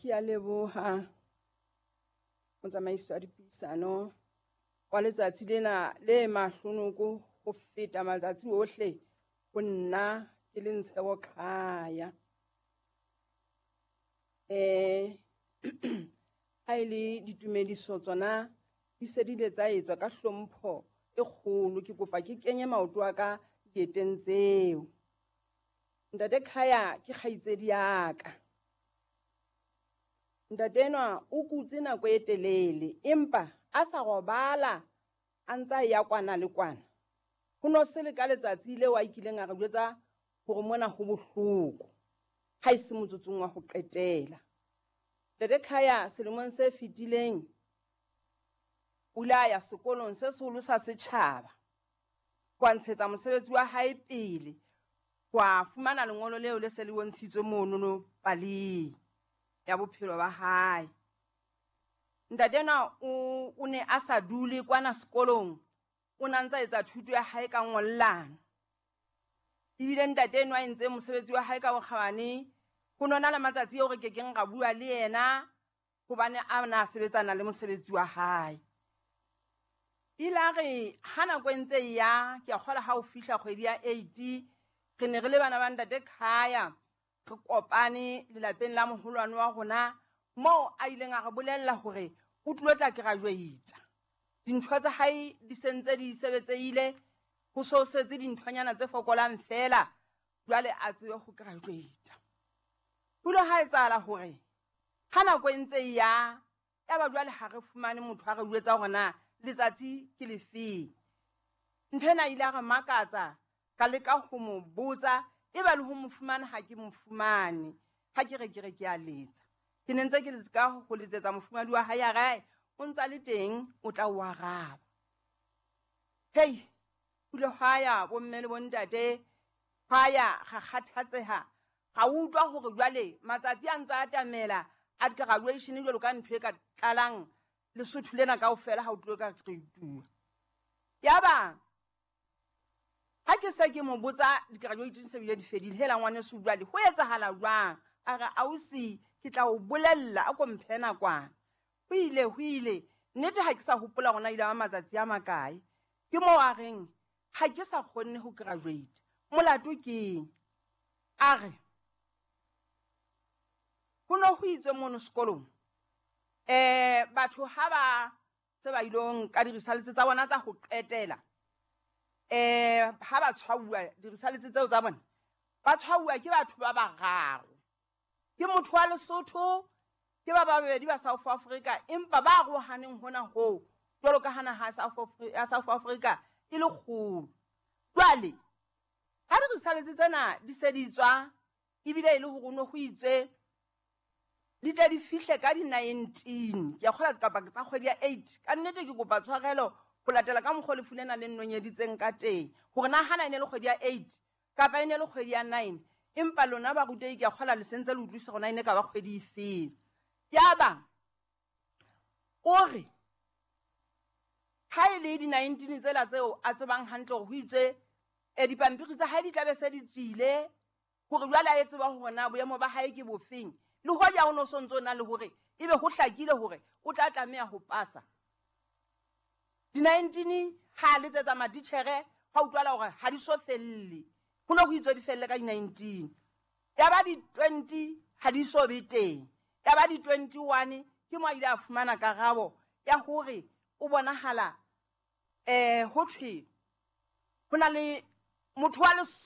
Ke a leboha motsamaisi wa dipuisano wa letsatsi lena le mahlonoko ho feta matsatsi ohle ho nna ke le Ntshebo Khaya. Ha e le ditumediso tsona di se di ile tsa etswa ka hlompho e kgolo. Ke kopa ke kenye maoto a ka dieteng tseo. Ntate Khaya ke kgaitsedi ya ka. Ntate enwa o kutse nako e telele empa a sa robala a ntsa ya kwana le kwana. Ho no se le ka letsatsi leo a kileng a re jwetsa hore mona ho bohloko, ha e se motsotsong wa ho qetela. Ntate Khaya selemong se fetileng o ile a ya sekolong se seholo sa setjhaba ho a ntshetsa mosebetsi wa hae pele, ho a fumana lengolo leo le se le bontshitswe monono paleng ya bophelo ba hae. Ntate enwa o ne a sa dule kwana sekolong, o na ntsa etsa thuto ya hae ka ngollano. Ebile ntate enwa a entse mosebetsi wa hae ka bokgabane, ho nona le matsatsi eo re kekeng ra bua le yena hobane a na sebetsana le mosebetsi wa hae. Ile a re ha nako e ntse e ya, ke a kgola ha o fihla kgwedi ya 8, re ne re le bana ba ntate Khaya, re kopane lelapeng la moholwane wa rona moo a ileng a re bolella hore o tlilo tla graduate. Dintho tsa hae di sentse di sebetsehile, ho so setse dinthonyana tse fokolang fela, jwale a tsebe ho graduate. Ho ile ha etsahala hore ha nako e ntse e ya, ya ba jwale ha re fumane motho a re jwetsa hore na letsatsi ke lefeng. Ntho ena ile a re makatsa, ka leka ho mo botsa, e ba le ho mo fumana ha ke mo fumane. Ha ke re ke re ke a letsa. Ke ne ntse ke leka ho letsetsa mofumahadi wa hae, a re o ntsa le teng, o tla o araba. Hei, ho ile hwa ya bomme le bontate, hwa ya ra kgathatseha, ra utlwa hore jwale matsatsi a ntsa atamela a graduation jwalo ka ntho e ka tlalang Lesotho lena kaofela ha o tlilo ka graduate. Yaba ha ke se ke mo botsa di-graduation se bile di fedile, hela ngwaneso jwale ho etsahala jwang? A re ausi ke tla o bolella, a ko mphe nakwana. Ho ile ho ile nnete ha ke sa hopola hore na ile ba matsatsi a makae. Ke moo a reng ha ke sa kgonne ho graduate, molato keng? A re ho no ho itswe mono sekolong batho ha ba se ba ilo nka di-results tsa bona tsa ho qetela, ha ba tshwauwa di-results tseo tsa bona, ba tshwauwa ke batho ba bararo. Ke motho wa Lesotho, ke ba babedi ba South Africa, empa ba arohaneng hona hoo jwalo ka ha naha ya South Africa e le kgolo. Jwale ha di-results tsena di se di tswa, ebile e le hore no ho itswe di tle di fihle ka di-19, ke a kgola kapa tsa kgwedi ya 8. Ka nnete ke kopa tshwarelo ho latela ka mokgwa lefu lena le nnonyeditseng ka teng, hore na hana e ne le kgwedi ya 8 kapa e ne le kgwedi ya 9, empa lona barutehi ke a kgola le sentse le utlwisisa hore na e ne ka ba kgwedi efeng. Yaba o re ha e le di-19 tsela tseo a tsebang hantle hore ho itswe dipampiri tsa hae di tla be se di tswile, hore jwale a e tseba hore na boemo ba hae ke bofeng, le hoja o no so ntso na le hore ebe ho hlakile hore o tla tlameha ho pasa. Di-19 ha letsetsa matitjhere, ha utlwala hore ha di so felle, ho no ho itswe di felle ka di-19. Ya ba di-20 ha di so be teng, ya ba di-21 ke mo a ile a fumana karabo ya hore o bonahala ho thwe ho na le motho wa